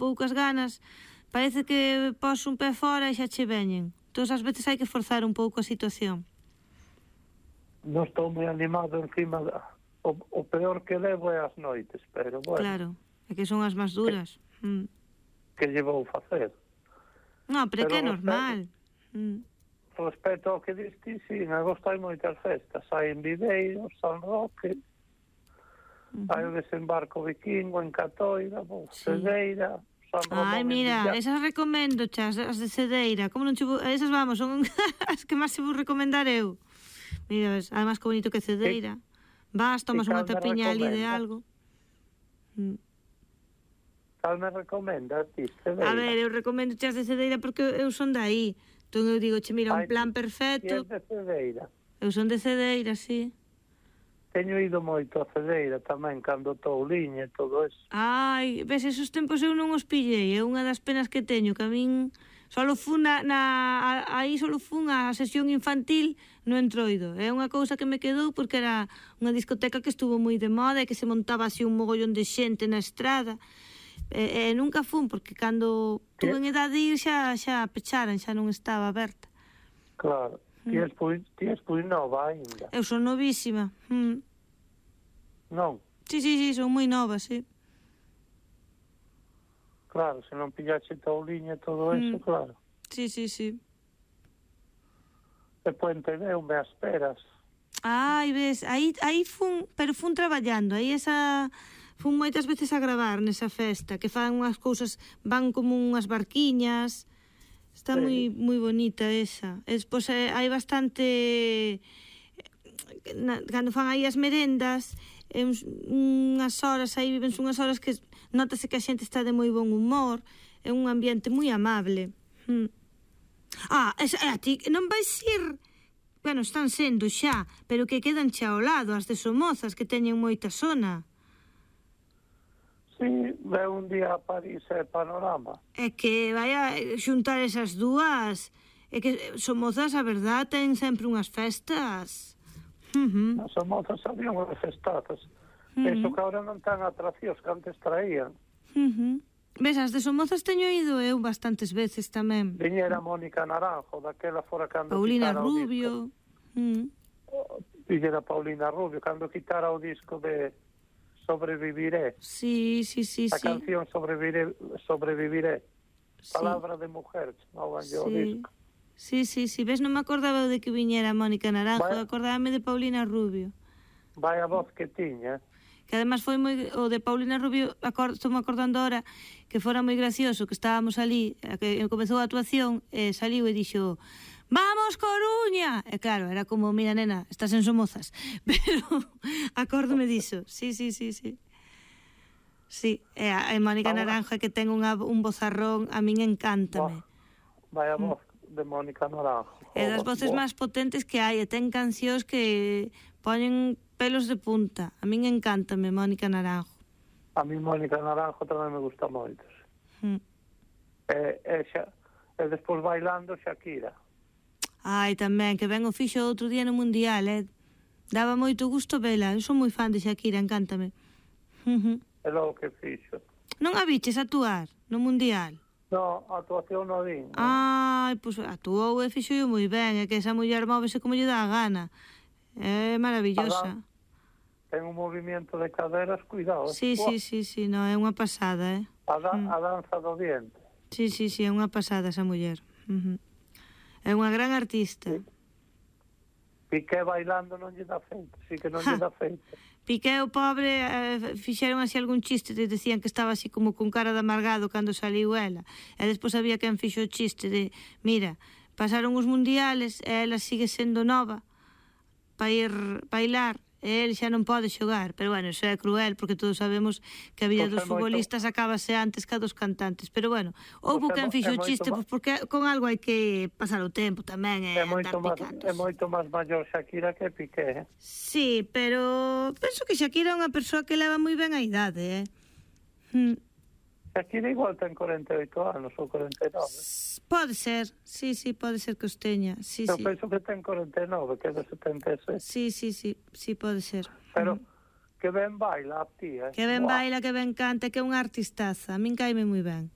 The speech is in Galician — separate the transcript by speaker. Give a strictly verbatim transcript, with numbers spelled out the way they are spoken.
Speaker 1: poucas ganas, parece que pos un pé fora e xa che veñen. Entón, ás veces hai que forzar un pouco a situación.
Speaker 2: Non estou moi animado encima da... O, o peor que levo é as noites, pero bueno.
Speaker 1: Claro, é que son as máis duras.
Speaker 2: Que,
Speaker 1: mm.
Speaker 2: que lle vou facer?
Speaker 1: Non, pero, pero que é normal.
Speaker 2: Mm. Respecto ao que diste, sí, en agosto hai moitas festas. Hai en Videiro, San Roque, uh-huh. hai o desembarco vikingo en Catoira, sí. Cedeira, San Román.
Speaker 1: Ai, mira, esas recomendo, chas, as de Cedeira. Como non che vou... Esas, vamos, son as que máis se vou recomendar eu. Mira, ves, además que bonito que Cedeira. Sí. Vas, tomas unha tapiña ali de algo. Mm.
Speaker 2: Cal me recomendas, ti, Cedeira?
Speaker 1: A ver, eu recomendo chas de Cedeira porque eu son de aí. Entón eu digo, che, mira, un plan perfecto.
Speaker 2: E de Cedeira?
Speaker 1: Eu son de Cedeira, sí.
Speaker 2: Teño ido moito a Cedeira tamén, cando Touliña e todo eso.
Speaker 1: Ai, ves, esos tempos eu non os pillei. É unha das penas que teño, que a min... Solo fun na, na, aí solo fun a sesión infantil no Entroido. É unha cousa que me quedou porque era unha discoteca que estuvo moi de moda e que se montaba así un mogollón de xente na estrada. E, e nunca fun, porque cando tuve en edad de ir xa, xa pecharan, xa non estaba aberta.
Speaker 2: Claro, ti és pui, ti és pui nova ainda.
Speaker 1: Eu son novísima. Mm.
Speaker 2: Non?
Speaker 1: Sí, sí, sí, son moi nova, sí.
Speaker 2: Claro, se non pillaxe Touliña e todo eso, mm. claro.
Speaker 1: Sí, sí, sí.
Speaker 2: E Puente Neume as peras.
Speaker 1: Ai, ves, aí, aí fun, pero fun traballando, aí esa... Fun moitas veces a gravar nesa festa, que fan unhas cousas, van como unhas barquiñas, está sí. moi moi bonita esa. E despois eh, hai bastante, na, cando fan aí as merendas, eh, unhas horas, aí viven unhas horas que notase que a xente está de moi bon humor, é un ambiente moi amable. Hmm. Ah, esa, a ti non vais ir, bueno, están sendo xa, pero que quedan xa ao lado, as de Somozas, que teñen moita zona.
Speaker 2: Sí, ve un día a París e Panorama.
Speaker 1: É que vai a xuntar esas dúas. É que Somozas, a verdad, ten sempre unhas festas.
Speaker 2: Uh-huh. As Somozas había unhas festazas. Uh-huh. Eso que ahora non tan atraccións que antes traían.
Speaker 1: Uh-huh. Ves, as de Somozas teño ido eu bastantes veces tamén.
Speaker 2: Viñera Mónica Naranjo, daquela fora cando
Speaker 1: Paulina
Speaker 2: quitara
Speaker 1: Rubio.
Speaker 2: o disco. Uh-huh. Viñera Paulina Rubio, cando quitara o disco de... Sobreviviré.
Speaker 1: Sí, sí, sí,
Speaker 2: a
Speaker 1: sí.
Speaker 2: A canción Sobreviviré, Sobreviviré. Sí. Palabra de mujer, chamaban sí. o disco.
Speaker 1: Sí, sí, sí. Ves, non me acordaba de que viñera Mónica Naranjo, Vaya... acordábame de Paulina Rubio.
Speaker 2: Vai a voz que tiña.
Speaker 1: Que además foi moi... O de Paulina Rubio, acord... estou me acordando ahora, que fora moi gracioso, que estábamos ali, que comezou a actuación, e saliu e dixo... ¡Vamos, Coruña! E claro, era como, mira, nena, estás en Somozas. Pero acórdome diso. Sí, sí, sí, sí. Sí, e a, a Mónica Naranjo que ten unha, un vozarrón, a min encántame.
Speaker 2: Vai a voz mm. de Mónica Naranjo.
Speaker 1: É das voces máis potentes que hai, e ten cancións que poñen pelos de punta. A min encántame Mónica Naranjo.
Speaker 2: A min Mónica Naranjo tamén me gusta moito. Mm. E, e, xa, e despois bailando Shakira.
Speaker 1: Ai, tamén, que ben o fixo outro día no Mundial, eh? Daba moito gusto vela. Eu son moi fan de Shakira, encántame.
Speaker 2: É logo que fixo.
Speaker 1: Non a viches actuar no Mundial?
Speaker 2: No, a actuación non vin. No.
Speaker 1: Ai, pois actuou e fixo moi ben. É que esa muller móvese como lle dá a gana. É maravillosa.
Speaker 2: Ten un movimento de caderas, cuidado.
Speaker 1: Sí, sí, sí, sí, no, é unha pasada, eh?
Speaker 2: A, da, mm. a danza do diente.
Speaker 1: Sí, sí, sí, é unha pasada esa muller. Uh -huh. É unha gran artista. Sí.
Speaker 2: Piqué bailando non lle dá feito, sí que non lle dá feito.
Speaker 1: Piqué, o pobre, eh, fixeron así algún chiste, te decían que estaba así como con cara de amargado cando saliu ela. E despois había quen fixo o chiste de, mira, pasaron os mundiales e ela sigue sendo nova para ir bailar, e el xa non pode xogar, pero bueno, iso é cruel porque todos sabemos que a vida pues dos futbolistas moito... acabase antes que a dos cantantes, pero bueno, houve pues quen fixo o chiste, pois pues porque con algo hai que pasar o tempo tamén e
Speaker 2: é moito máis, é moito máis maior Shakira que Piqué, eh?
Speaker 1: Sí, pero penso que Shakira é unha persoa que leva moi ben a idade, eh? Hmm.
Speaker 2: Shakira igual ten corenta e oito anos ou corenta e nove.
Speaker 1: Pode ser, sí, sí, pode ser que os teña. Sí,
Speaker 2: Eu
Speaker 1: sí.
Speaker 2: penso que ten corenta e nove, que é de setenta e seis.
Speaker 1: Sí, sí, sí, sí, pode ser.
Speaker 2: Pero mm. que ben baila a tía, eh?
Speaker 1: Que ben Buah. baila, que ben canta, que é unha artistaza. A min caime moi ben.